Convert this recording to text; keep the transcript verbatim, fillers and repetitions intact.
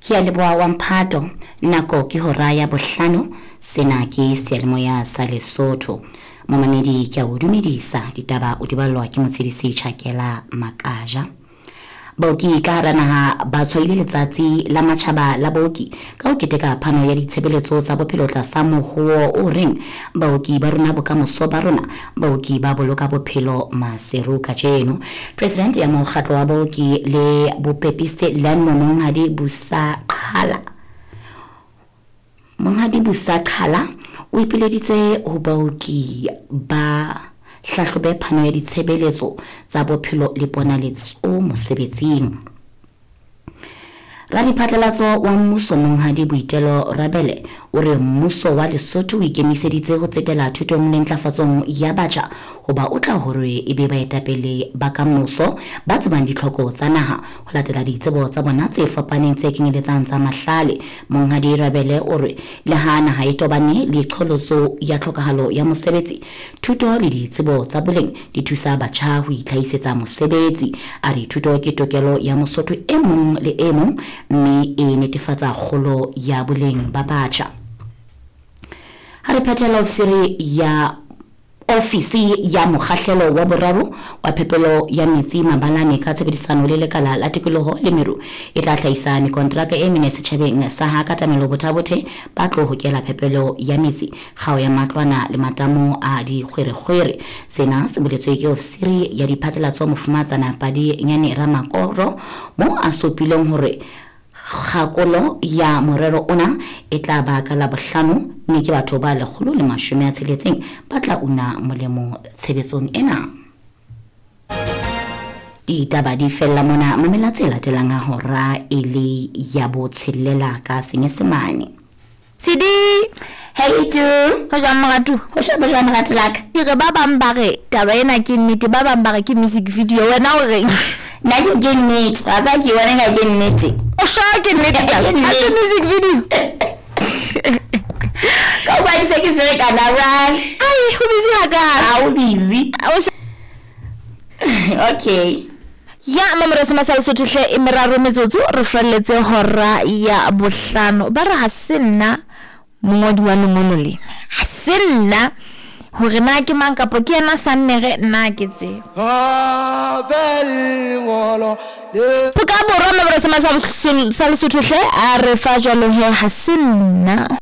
Ke a leboha wa mphato. Nako ke hora ya bohlano. Sena ke seyalemoya sa Lesotho. Momamedi ke a o dumedisa. Ditaba o di ballwa ke Motshedisi Tjhakela Makaja. Baoki ka hara naha ba tshwaile letsatsi la matjhaba la baoki ka ho keteka phano ya ditshebeletso tsa bophelo tlasa mohowo o reng baoki ba rona bokamoso ba rona, baoki ba boloka bophelo Maseru kajeno. President ya mokgatlo wa baoki le bopepisi Learnmore Monghadi Busa Qhala Monghadi Busa Qhala o ipileditse ho baoki ba hlahlobe phano ya ditshebeletso tsa bophelo le ponaletso mosebetsing. Radiphatlalatso wa mmuso Monghadi Boitelo Rabele o re mmuso wa Lesotho o ikemiseditse ho tsetela thutong le ntlafatsong ya batjha hoba o tla hore e be baetapele ba kamoso ba tsebang ditlhoko tsa naha ho latela ditsebo tsa bona tse fapaneng tse kenyeletsang tsa mahlale. Monghadi Rabele o re le ha naha e tobane le qholotso ya tlhokahalo ya mosebetsi, thuto le ditsebo tsa boleng di thusa batjha ho itlhahisetsa mosebetsi. A re thuto ke tokelo ya Mosotho e mong le e mong mme e netefatsa kgolo ya boleng ba batjha. Ha re phethela ofisiri ya ofisi ya mokgahlelo wa boraro wa phepelo ya metsi mabalane ka tshebedisano le lekala la tikoloho le meru e tla hlahisa mekontraka e mene setjhabeng sa ha Katamelo Bothabothe ba tlo hokela phepelo ya metsi kgao ya matlwana le matamo a dikgwerekgwere. Sena se boletswe ke ofisiri ya diphatlalatso Mofumatsana Padinyane Ramakoro mo a supileng hore kgakolo ya morero ona e tla ba ka Labohlano mme ke batho ba lekgolo le mashome a tsheletseng ba tla una molemo tshebetsong ena. Ditaba di fella mona, mamela tse latelang ha hora e le ya botshelela ka Senyesemane. Tshidi! Hey tu! Ho jwang moratu? Ho jwang, ho jwang moratu la ka? Ke re ba bang ba re taba ena ke nnete, ba bang ba re ke music video. Wena o reng? Nna ke ke nnete, wa tseba ke bona eka ke nnete. O sure ke nnete? Ke Ha se nnete. music video. Ka hobane ke se ke ferekana jwale. Ai, ho busy hakae? Ha o busy. Ha o Okay. Ya mamora se masale Sotho hle e meraro metsotso re felletse hora ya bohlano. Ba re ha se nna mongodi wa lengolo lena. Ha se nna hore na ke mang kapa ke yena Sannere nna ke tsebe. Phuka Borwa mamora se masale Sotho hle a re fa jwalo he ha se nna.